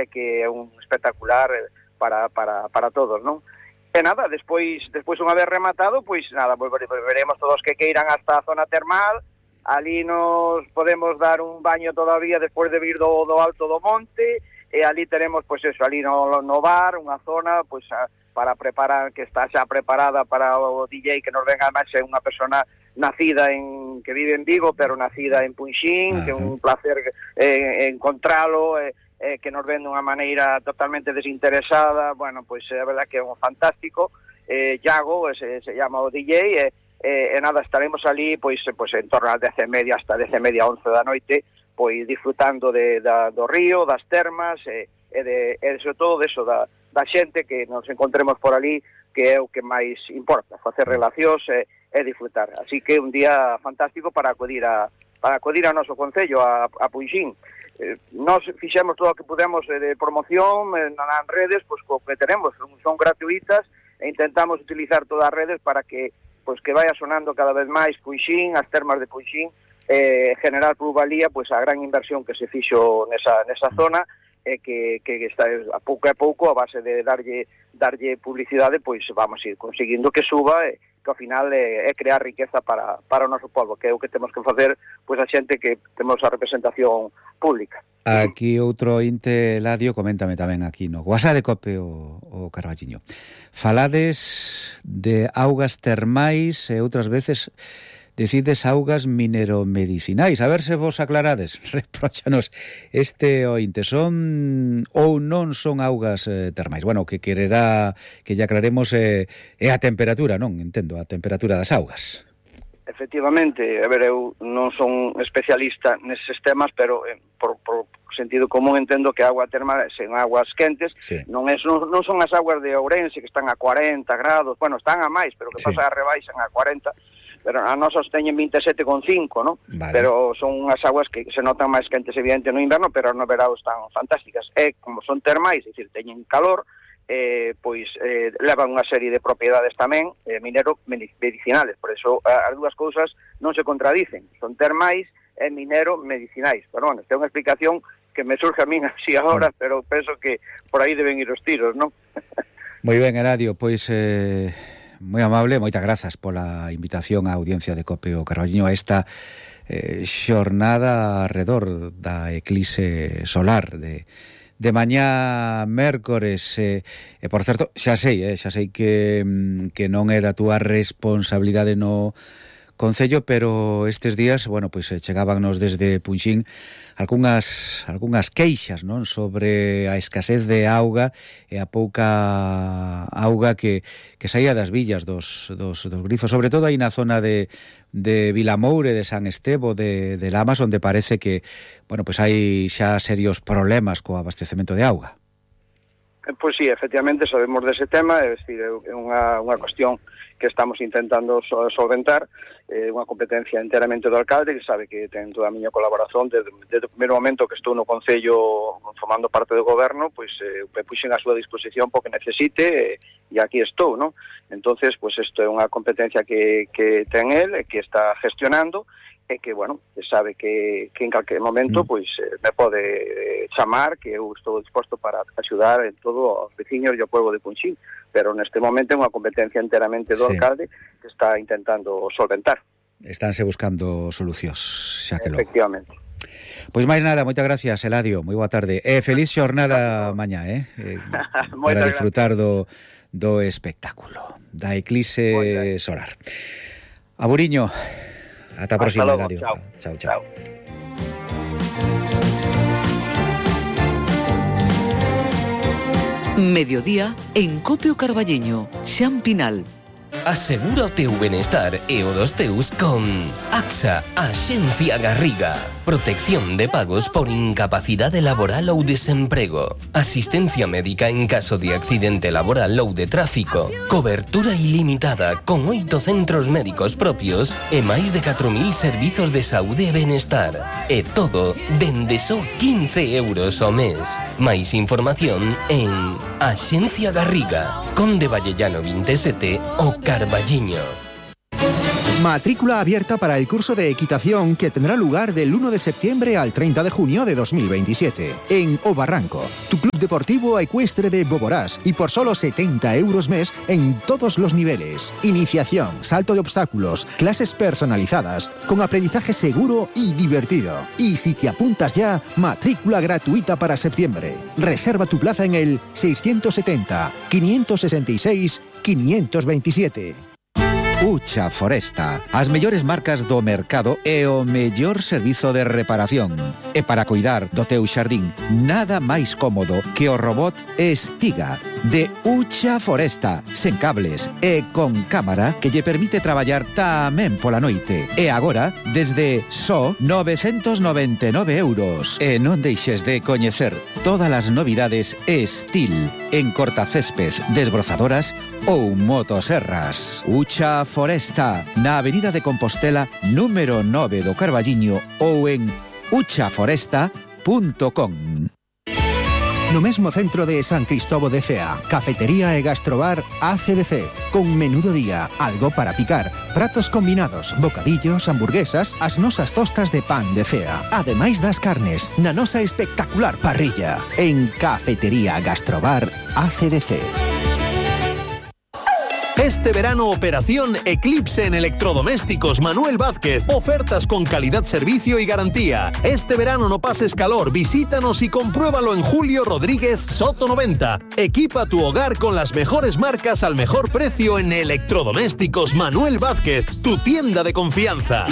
e que é un espectacular para todos, non? E nada, despois unha vez rematado, pois nada, volveremos todos que queiran hasta a zona termal. Ali nos podemos dar un baño todavía despois de vir do alto do monte, e ali tenemos, pois eso, ali no bar, unha zona, pois para preparar, que está xa preparada para o DJ que nos venga, máis é unha persona nacida que vive en Vigo, pero nacida en Punxín, que é un placer encontralo, que nos ven dunha maneira totalmente desinteresada. Bueno, pois é verdad que é un fantástico, Iago, se llama o DJ, e nada, estaremos ali pois en torno ás 10:30 hasta 10:30, 11 da noite, pois disfrutando do río, das termas, e sobre todo deso, da xente que nos encontremos por ali, que é o que máis importa, facer relacións e disfrutar. Así que un día fantástico para acudir ao noso concello, a Punxín. Nós fixemos todo o que pudemos de promoción nas redes, pois co que tenemos, son gratuitas, e intentamos utilizar todas as redes para que vaya sonando cada vez máis Punxín, as termas de Punxín, generar plusvalía, pois a gran inversión que se fixo nesa zona, que está a pouco a base de darlle publicidade, pois vamos ir conseguindo que suba, que ao final é crear riqueza para o noso povo, que é o que temos que facer, pois a xente que temos a representación pública. Aquí outro inte, Eladio, coméntame tamén aquí no WhatsApp de Cope o Carballiño. Falades de augas termais e outras veces decides augas mineromedicinais. A ver se vos aclarades, repróchanos este ointe, son ou non son augas termais. Bueno, que quererá que lle aclaremos é a temperatura, non? Entendo, a temperatura das augas. Efectivamente, a ver, eu non son especialista neses temas, pero por sentido común entendo que a agua termal son aguas quentes, sí. non son as aguas de Ourense que están a 40 grados, bueno, están a máis, pero que pasa a rebaixan a 40, pero a nosas teñen 27,5, non? Vale. Pero son unhas aguas que se notan máis quentes evidente no inverno, pero no verão están fantásticas. E como son termais, é dicir, teñen calor, pois levan unha serie de propiedades tamén minero-medicinales, por eso as dúas cousas non se contradicen, son termais e minero-medicinais. Pero bueno, esta é unha explicación que me surge a min así agora, pero penso que por aí deben ir os tiros, non? Moi ben, Eladio, pois moi amable, moitas grazas pola invitación á audiencia de Cope o Carballiño a esta xornada arredor da eclipse solar de mañá mércores, e por certo, xa sei que non é da túa responsabilidade no Concello, pero estes días, bueno, pois chegábanos desde Punxín algunhas queixas, non, sobre a escasez de auga e a pouca auga que saía das villas dos grifos, sobre todo aí na zona de Vilamoure, de San Estevo, de Lamas, onde parece que, bueno, pois hai xa serios problemas co abastecemento de auga. Pois sí, efectivamente sabemos dese tema, é dicir, é unha cuestión que estamos intentando solventar, unha competencia enteramente do alcalde, que sabe que ten toda a miña colaboración desde o primeiro momento que estou no Concello formando parte do goberno, pois puxen a súa disposición porque necesite, e aquí estou, non? Entonces, pois isto é unha competencia que ten el, que está gestionando, e que, bueno, sabe que en calquer momento pois me pode chamar, que eu estou disposto para axudar en todo os veciños e o povo de Punxín, pero neste momento é unha competencia enteramente do alcalde que está intentando solventar. Estánse buscando solucións, xa que logo. Efectivamente. Pois máis nada, moitas gracias, Eladio, moi boa tarde. Feliz xornada mañá, para disfrutar do espectáculo da eclipse solar. Aburiño. Ata a próxima, Eladio. Chao. Mediodía en Cope o Carballiño, Xan Pinal. Asegura o teu benestar e o dos teus con AXA, Axencia Garriga. Protección de pagos por incapacidade laboral ou desemprego. Asistencia médica en caso de accidente laboral ou de tráfico. Cobertura ilimitada con 8 centros médicos propios e máis de 4.000 servizos de saúde e benestar. E todo dende só 15 euros ao mes. Máis información en Axencia Garriga, Conde Vallellano 27, o Carballiño. Matrícula abierta para el curso de equitación que tendrá lugar del 1 de septiembre al 30 de junio de 2027 en O Barranco, tu club deportivo ecuestre de Boborás, y por solo 70 euros mes en todos los niveles. Iniciación, salto de obstáculos, clases personalizadas, con aprendizaje seguro y divertido. Y si te apuntas ya, matrícula gratuita para septiembre. Reserva tu plaza en el 670-566-527. Ucha Foresta, as mellores marcas do mercado e o mellor servizo de reparación. E para cuidar do teu xardín, nada máis cómodo que o robot Estiga de Ucha Foresta, sen cables e con cámara que lle permite traballar tamén pola noite. E agora, desde só 999 euros. E non deixes de coñecer todas as novidades Estil en cortacésped, desbrozadoras ou motoserras. Ucha Foresta, na Avenida de Compostela, número 9 do Carballiño, ou en uchaforesta.com. No mesmo centro de San Cristóbal de Cea, cafetería e gastrobar ACDC, con menú do día, algo para picar, pratos combinados, bocadillos, hamburguesas, as nosas tostas de pan de Cea, ademais das carnes, na nosa espectacular parrilla, en Cafetería Gastrobar ACDC. Este verano, operación Eclipse en electrodomésticos Manuel Vázquez. Ofertas con calidad, servicio y garantía. Este verano no pases calor, visítanos y compruébalo en Julio Rodríguez Soto 90. Equipa tu hogar con las mejores marcas al mejor precio en electrodomésticos Manuel Vázquez, tu tienda de confianza.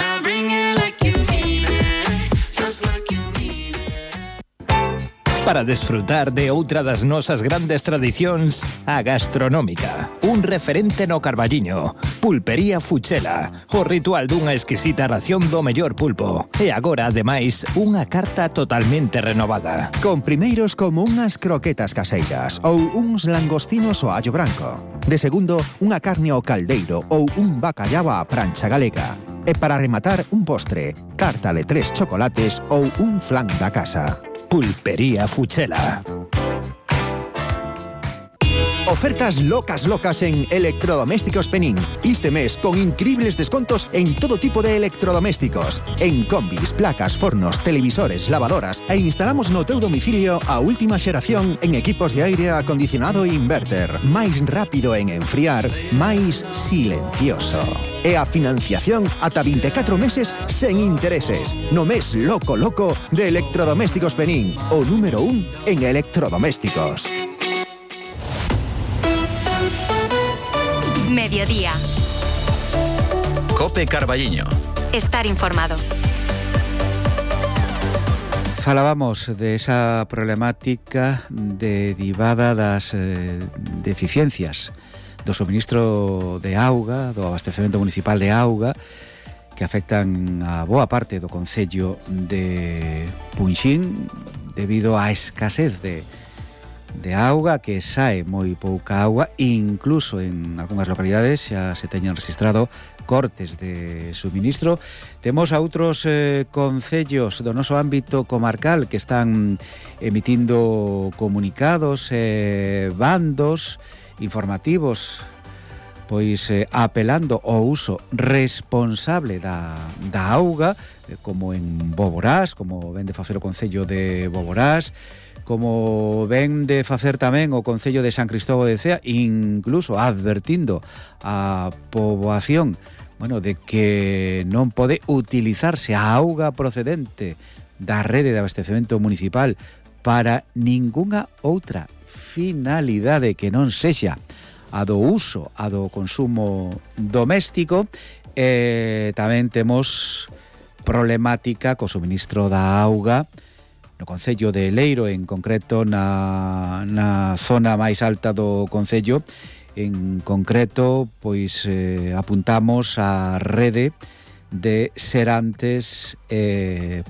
Para desfrutar de outra das nosas grandes tradicións, a gastronómica. Un referente no Carballiño. Pulpería Fuchela. O ritual dunha exquisita ración do mellor pulpo. E agora, ademais, unha carta totalmente renovada. Con primeiros como unhas croquetas caseiras ou uns langostinos ao allo branco. De segundo, unha carne ao caldeiro ou un bacallao á prancha galega. E para rematar, un postre, carta de 3 chocolates ou un flan da casa. Pulpería Fuchela. Ofertas locas en Electrodomésticos Penín. Este mes con increíbles descontos en todo tipo de electrodomésticos. En combis, placas, fornos, televisores, lavadoras. E instalamos no teu domicilio a última xeración en equipos de aire acondicionado e inverter. Máis rápido en enfriar, máis silencioso. E a financiación ata 24 meses sen intereses. No mes loco de Electrodomésticos Penín. O número 1 en electrodomésticos. Mediodía. Cope Carballiño. Estar informado. Falábamos de esa problemática derivada das deficiencias do suministro de auga, do abastecemento municipal de auga, que afectan a boa parte do concello de Punxín debido á escasez de auga, que sae moi pouca auga, incluso en algunhas localidades xa se teñen registrado cortes de suministro. Temos a outros concellos do noso ámbito comarcal que están emitindo comunicados, bandos informativos, pois apelando ao uso responsable da auga, como en Boborás, como ven de facer o concello de Boborás, como ven de facer tamén o concello de San Cristóbal de Cea, incluso advertindo a poboación, de que non pode utilizarse a auga procedente da rede de abastecemento municipal para ningunha outra finalidade que non sexa a do uso, a do consumo doméstico. Tamén temos problemática co suministro da auga no concello de Leiro, en concreto na zona máis alta do concello. En concreto, pois apuntamos á rede de Serantes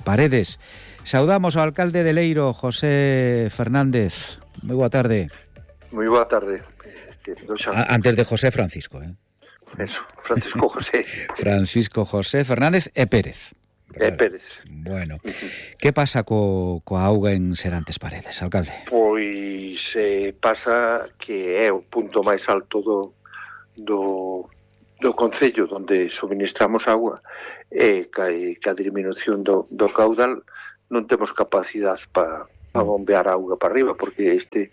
Paredes. Saudamos ao alcalde de Leiro, José Fernández. Moi boa tarde. Moi boa tarde. Antes de José, Francisco, Eso, Francisco José. Francisco José Fernández e Pérez. Pérez. Bueno, que pasa coa auga en Serantes Paredes, alcalde? Pois pasa que é o punto máis alto do do concello onde suministramos agua e que a disminución do caudal non temos capacidade para bombear auga para arriba, porque este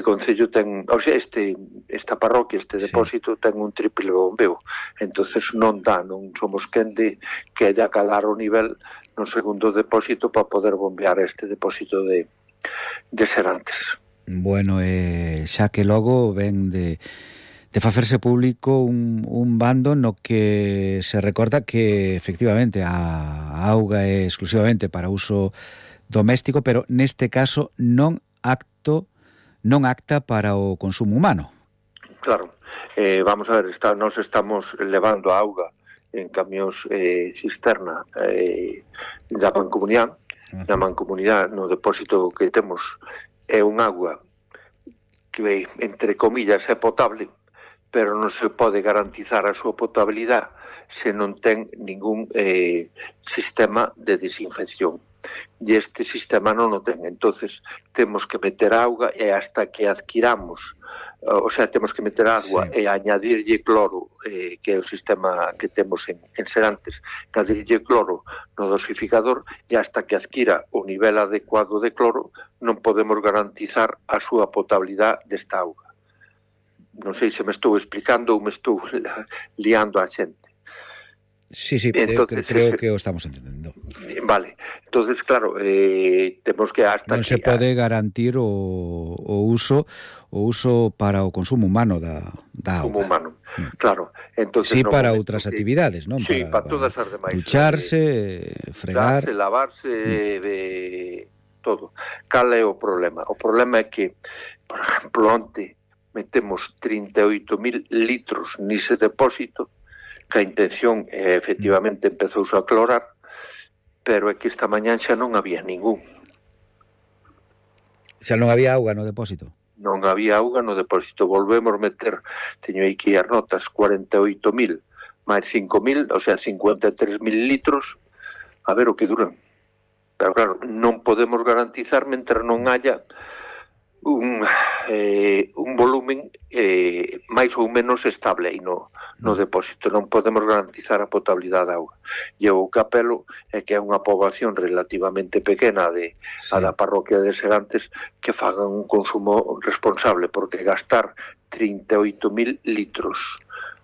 concello ten, o sea, esta parroquia, este depósito ten un triple bombeo, entonces non somos quen de que haya calar o nivel no segundo depósito para poder bombear este depósito de Serantes. Bueno, xa que logo ven de facerse público un bando no que se recorda que efectivamente a auga é exclusivamente para uso doméstico, pero neste caso non acta para o consumo humano. Claro, vamos a ver, nós estamos levando a auga en camións cisterna da Mancomunidade. Na Mancomunidade, no depósito que temos, é un agua que, entre comillas, é potable, pero non se pode garantizar a súa potabilidade se non ten ningún sistema de desinfección. E este sistema non o ten, entonces temos que meter auga e hasta que adquiramos, o sea, temos que meter agua e añadirlle cloro, que é o sistema que temos en Serantes, añadirlle cloro no dosificador, e hasta que adquira o nivel adecuado de cloro non podemos garantizar a súa potabilidade desta auga. Non sei se me estou explicando ou me estou liando a xente. Sí, entonces, creo que o estamos entendendo. Vale, entonces claro, temos que hasta non se pode garantir o uso para o consumo humano da auga. Humano, claro. Entonces, sí, para outras actividades, non? Sí, para todas as demais. Ducharse, fregar, lavarse, todo. Cal é o problema? O problema é que, por exemplo, onte metemos 38.000 litros nese depósito, que a intención efectivamente empezouse a clorar, pero é que esta mañán xa non había ningún. Xa non había auga no depósito? Non había auga no depósito. Volvemos meter, teño aquí as notas, 48.000 máis 5.000, o sea, 53.000 litros, a ver o que duran. Pero claro, non podemos garantizar mentre non haya un volumen máis ou menos estable aí no depósito. Non podemos garantizar a potabilidade da auga. E o capelo é que é unha poboación relativamente pequena a da parroquia de Serantes que fagan un consumo responsable, porque gastar 38.000 litros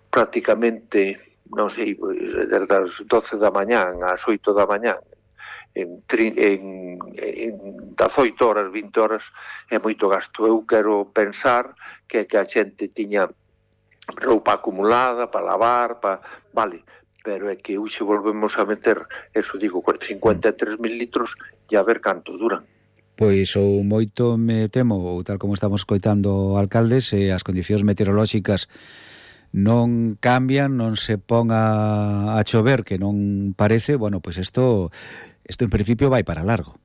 prácticamente, non sei, desde as 12 da mañán ás 8 da mañán en 18 horas, 20 horas é moito gasto. Eu quero pensar que a xente tiña roupa acumulada para lavar, vale, pero é que hoxe volvemos a meter, eso digo, 53.000 litros e a ver canto duran. Pois ou moito me temo, ou tal como estamos coitando alcaldes, as condicións meteorolóxicas non cambian, non se pon a chover, que non parece, bueno, pois isto en principio vai para largo.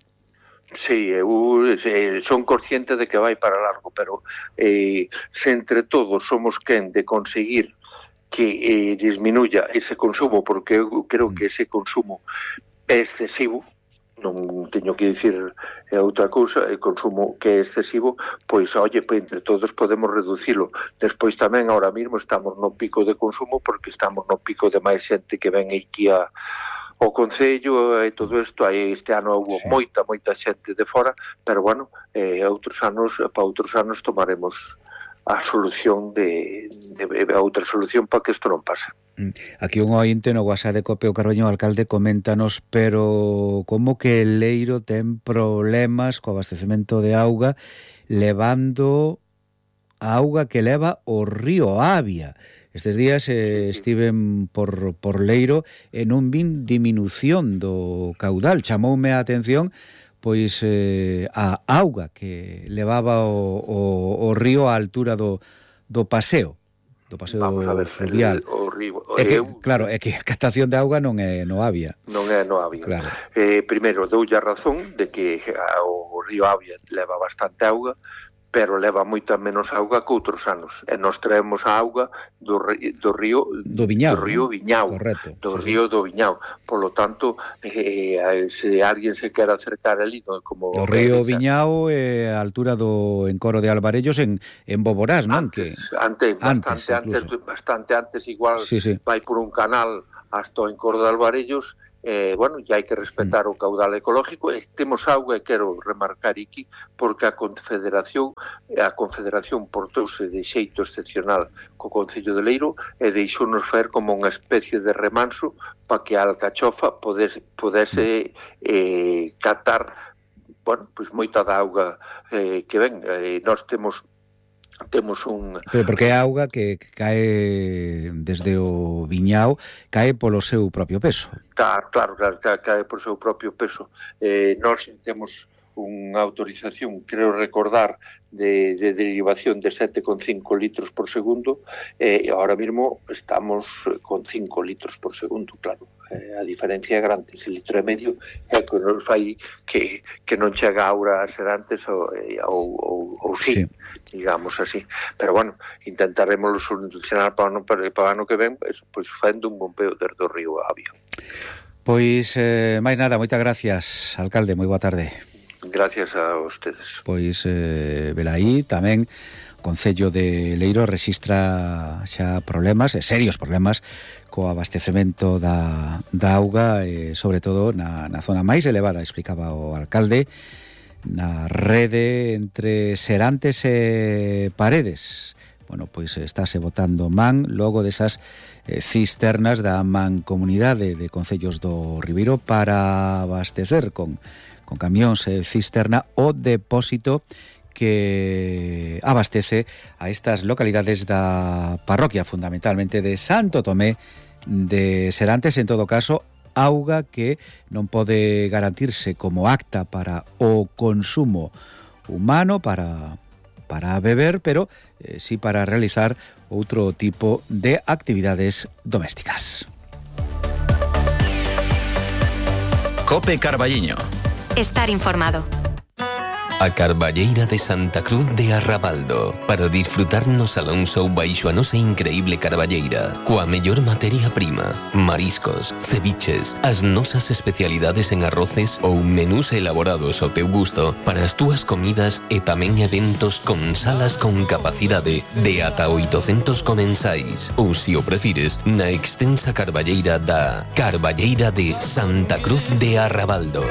Sí, eu son consciente de que vai para largo, pero se entre todos somos quen de conseguir que disminuya ese consumo, porque eu creo que ese consumo é excesivo, non teño que dicir outra cousa, o consumo que é excesivo, pois, oye, entre todos podemos reducilo. Despois tamén, ahora mismo, estamos no pico de consumo, porque estamos no pico de máis xente que ven aquí ao Concello e todo isto. Este ano houve moita xente de fora, pero bueno, para outros anos tomaremos a solución a outra solución para que isto non pase. Aquí un ointe no WhatsApp de Copeo Carballiño, alcalde, coméntanos, pero como que el Leiro ten problemas co abastecemento de auga levando a auga que leva o río Avia. Estes días estiven por Leiro e non vin diminución do caudal. Chamoume a atención pois a auga que levaba o río á altura do paseo fluvial. Claro, é que a captación de auga non é no Avia. Non é no Avia. Claro. Primeiro, doulle a razón de que o río Avia leva bastante auga, pero leva moita menos auga que outros anos. E nós traemos a auga do río Viñao, do río Viñao, correcto, do río do Viñao. Por lo tanto, se alguén se quer acercar ali, como o río Viñao a altura do encoro de Alvarellos en Boborás, non? Bastante antes, igual vai por un canal hasta o encoro de Alvarellos. Bueno, ya hai que respetar o caudal ecológico. Temos auga, e quero remarcar aquí, porque a Confederación portouse de xeito excepcional co Concello de Leiro e deixounos faer como unha especie de remanso para que a alcachofa pudese catar, bueno, pois moita da auga que ven. Nós temos un... Pero porque é auga que cae desde o Viñao, cae polo seu propio peso. Claro, cae por seu propio peso. Nós temos unha autorización, creo recordar, de derivación de 7,5 litros por segundo, e ahora mesmo estamos con 5 litros por segundo, claro. A diferencia é grande, ese litro e medio é que nos fai que non chega a aura a ser antes ou sí, digamos así. Pero bueno, intentaremos solucionar para o ano que ven, pois facendo un bombeo desde o río Avia. Pois, máis nada, moitas gracias, alcalde, moi boa tarde. Gracias a ustedes. Pois, velaí tamén o Concello de Leiro rexistra xa problemas, serios problemas, co abastecemento da auga, sobre todo na zona máis elevada, explicaba o alcalde, na rede entre Serantes e Paredes. Bueno, pois estáse botando man logo desas cisternas da Mancomunidade de Concellos do Ribeiro para abastecer con camións cisterna o depósito que abastece a estas localidades da parroquia, fundamentalmente de Santo Tomé de Serantes. En todo caso, auga que non pode garantirse como apta para o consumo humano, para beber, pero sí para realizar outro tipo de actividades domésticas. Cope Carballiño. Estar informado. A Carballeira de Santa Cruz de Arrabaldo, para disfrutar no Salón Show baixo a nosa increíble carballeira, coa mellor materia prima, mariscos, ceviches, as nosas especialidades en arroces ou menús elaborados ao teu gusto para as túas comidas e tamén eventos con salas con capacidade de ata 800 comensais, ou se o prefires, na extensa carballeira da Carballeira de Santa Cruz de Arrabaldo.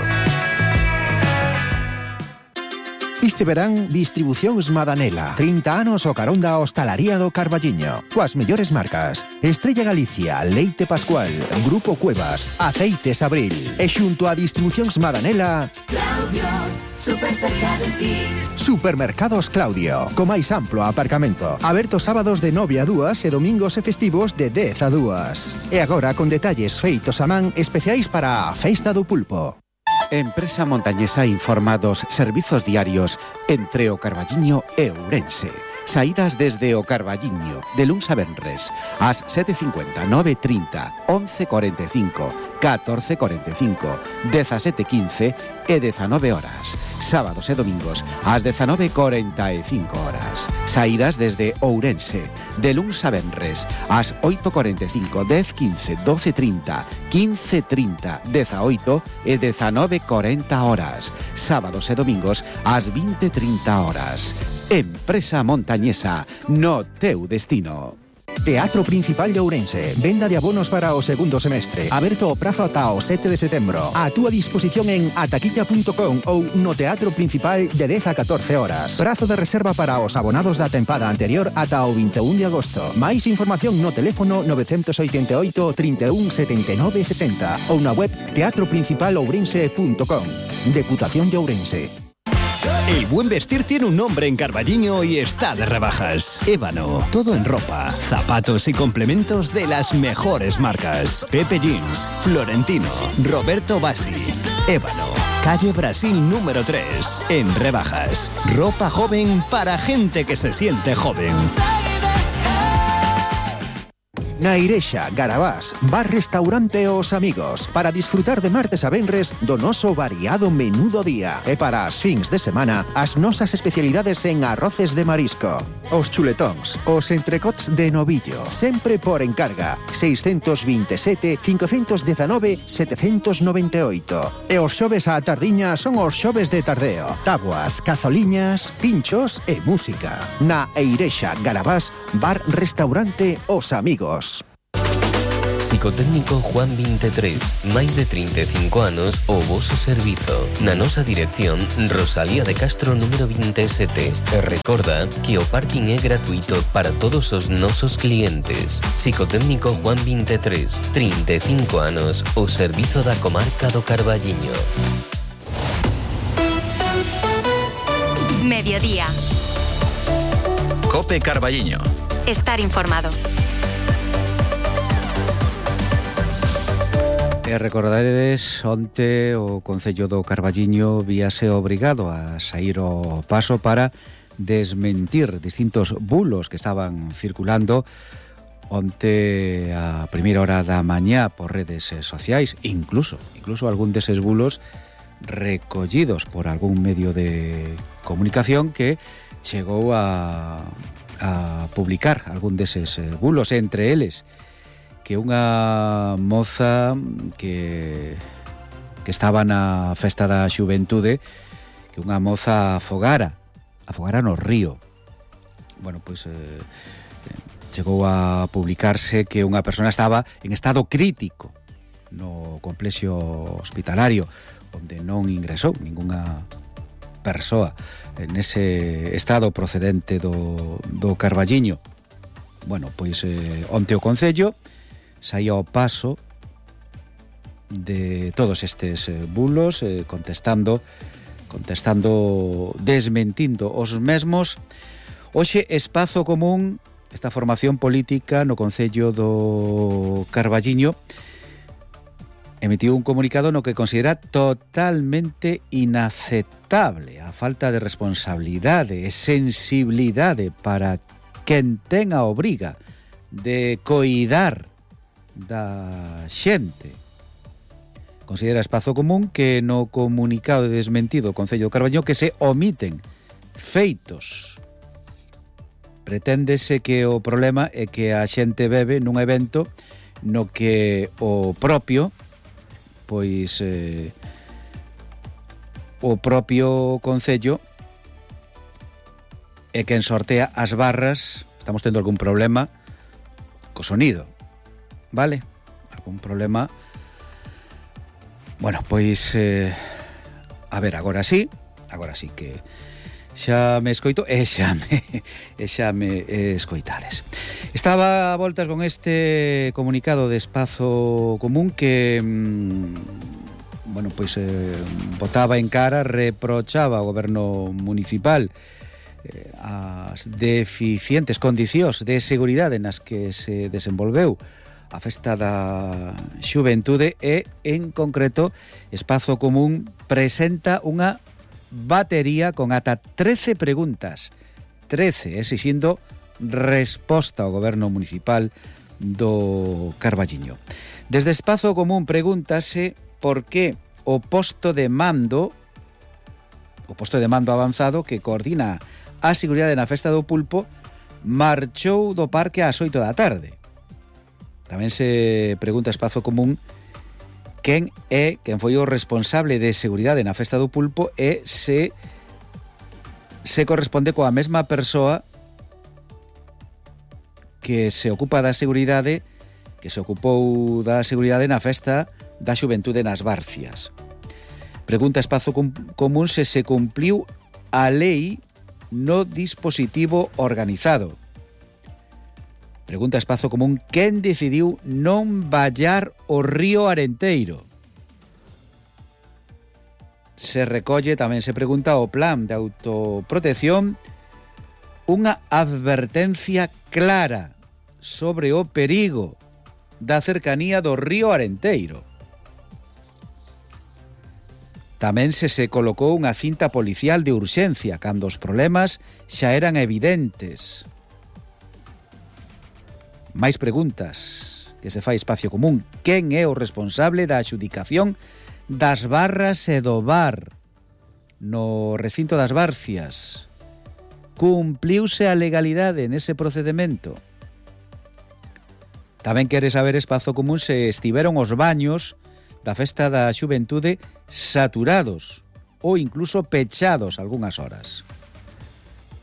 Este verán, Distribucións Madanela. 30 anos o carón da hostalaría do Carballiño. Coas mellores marcas: Estrella Galicia, Leite Pascual, Grupo Cuevas, Aceites Abril. E xunto a Distribucións Madanela, Claudio, super cerca de ti. Supermercados Claudio, co máis amplo aparcamento. Aberto sábados de 9 a 2 e domingos e festivos de 10 a 2. E agora con detalles feitos a man especiais para a Festa do Pulpo. Empresa Montañesa informa dos servizos diarios entre o Carballiño e Ourense. Saídas desde o Carballiño, de luns a venres, ás 7:50, 9:30, 11:45, 14:45, 17:15 e 19 horas. Sábados e domingos, ás 19:45 horas. Saídas desde Ourense, de luns a venres, ás 8:45, 10:15, 12:30, 15:30, 18 e 19:40 horas. Sábados e domingos, ás 20:30 horas. Empresa Montañesa, no teu destino. Teatro Principal de Ourense. Venda de abonos para o segundo semestre. Aberto o prazo ata o 7 de setembro. A túa disposición en ataquilla.com ou no Teatro Principal de 10 a 14 horas. Prazo de reserva para os abonados da tempada anterior ata o 21 de agosto. Máis información no teléfono 988 31 79 60 ou na web teatroprincipalourense.com. Deputación de Ourense. El buen vestir tiene un nombre en Carballiño y está de rebajas. Ébano, todo en ropa, zapatos y complementos de las mejores marcas. Pepe Jeans, Florentino, Roberto Bassi. Ébano, calle Brasil número 3, en rebajas. Ropa joven para gente que se siente joven. Na Irexa, Garabás, bar restaurante Os Amigos, para disfrutar de martes a venres do noso variado menú do día. E para as fins de semana, as nosas especialidades en arroces de marisco, os chuletóns, os entrecots de novillo, sempre por encarga, 627 519 798. E os xoves á tardiña son os xoves de tardeo, tabuas, cazoliñas, pinchos e música. Na Eirexa, Garabás, bar restaurante Os Amigos. Psicotécnico Juan 23, máis de 35 anos o voso servizo. Na nosa dirección, Rosalía de Castro número 27. E recorda que o parking é gratuito para todos os nosos clientes. Psicotécnico Juan 23, 35 anos, o servizo da comarca do Carballiño. Mediodía. Cope Carballiño. Estar informado. E recordaredes, onte o Concello do Carballiño víase obrigado a sair ao paso para desmentir distintos bulos que estaban circulando onte a primeira hora da mañá por redes sociais, incluso algún deses bulos recollidos por algún medio de comunicación que chegou a publicar algún deses bulos, entre eles que unha moza que estaba na festa da xuventude, que unha moza afogara no río. Bueno, pois chegou a publicarse que unha persona estaba en estado crítico no complexo hospitalario, onde non ingresou ningunha persoa nese estado procedente do Carballiño. Bueno, pois onte o Concello saía ao paso de todos estes bulos, contestando, desmentindo os mesmos. Hoxe Espazo Común, esta formación política no Concello do Carballiño, emitiu un comunicado no que considera totalmente inaceptable a falta de responsabilidade e sensibilidade para quen ten a obriga de coidar da xente. Considera Espazo Común que no comunicado de desmentido do Concello do Carballiño que se omiten feitos. Preténdese que o problema é que a xente bebe nun evento no que o propio Concello é quen sortea as barras. Estamos tendo algún problema co sonido, vale? Algún problema. Bueno, pois a ver, agora sí que xa me escoito e xa me escoitades. Estaba a voltas con este comunicado de Espazo Común que bueno, pois botaba en cara, reprochaba ao goberno municipal as deficientes condicións de seguridade nas que se desenvolveu a festa da xuventude e, en concreto, Espazo Común presenta unha batería con ata 13 preguntas, 13, exixindo resposta ao goberno municipal do Carballiño. Desde Espazo Común pregúntase por que o posto de mando avanzado que coordina a seguridade na festa do Pulpo marchou do parque ás 8 da tarde. Tamén se pregunta Espazo Común quen foi o responsable de seguridade na festa do Pulpo e se corresponde coa mesma persoa que se ocupa da seguridade, que se ocupou da seguridade na festa da xuventude nas Barcias. Pregunta Espazo Común se cumpliu a lei no dispositivo organizado. Pregunta Espazo Común quen decidiu non vallar o río Arenteiro. Se recolle, tamén se pregunta, o plan de autoprotección, unha advertencia clara sobre o perigo da cercanía do río Arenteiro. Tamén se colocou unha cinta policial de urxencia cando os problemas xa eran evidentes. Máis preguntas que se fai Espacio Común. Quen é o responsable da adxudicación das barras e do bar no recinto das Barcias? Cumpliuse a legalidade nese procedimento? Tamén quere saber Espazo Común se estiveron os baños da Festa da Xuventude saturados ou incluso pechados algunhas horas.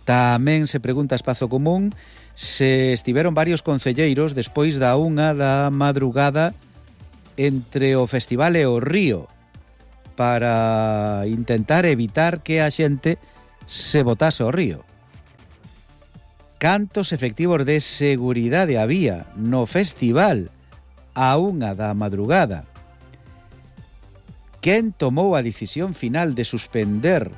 Tamén se pregunta Espazo Común se estiveron varios concelleiros despois da 1 da madrugada entre o festival e o río para intentar evitar que a xente se botase ao río. Cantos efectivos de seguridade había no festival a 1 da madrugada? Quen tomou a decisión final de suspender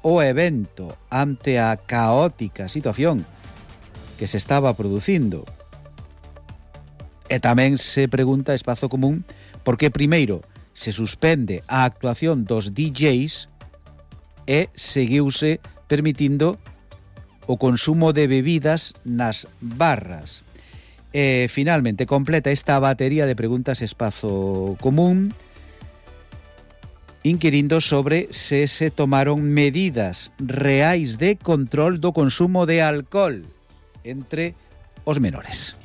o evento ante a caótica situación que se estaba producindo? E tamén se pregunta Espazo Común por que primeiro se suspende a actuación dos DJs e seguiuse permitindo o consumo de bebidas nas barras. E finalmente completa esta batería de preguntas Espazo Común inquirindo sobre se se tomaron medidas reais de control do consumo de alcohol entre os menores.